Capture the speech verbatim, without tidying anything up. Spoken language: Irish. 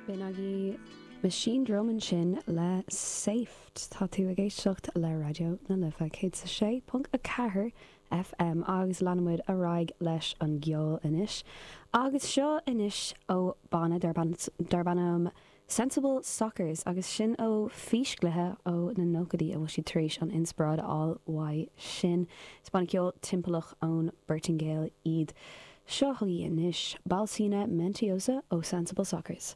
B'in agaibh Machinedrum ansin le Safe. Tá tú ag éisteacht le Raidió na Life céad a sé ponc a ceathair F M agus leanaimid ar aghaidh leis an gceol anois. Agus seo anois ó banna darb ainm Sensible Sockers, agus sin ó físchluiche ó na nóchaidí a bhfuil siad tar éis an inspioráid a fháil uaidh sin. Is banna ceol timpeallach ón bPortaingéil iad. Seo chugaibh anois Balsina Mentiosa ó Sensible Sockers.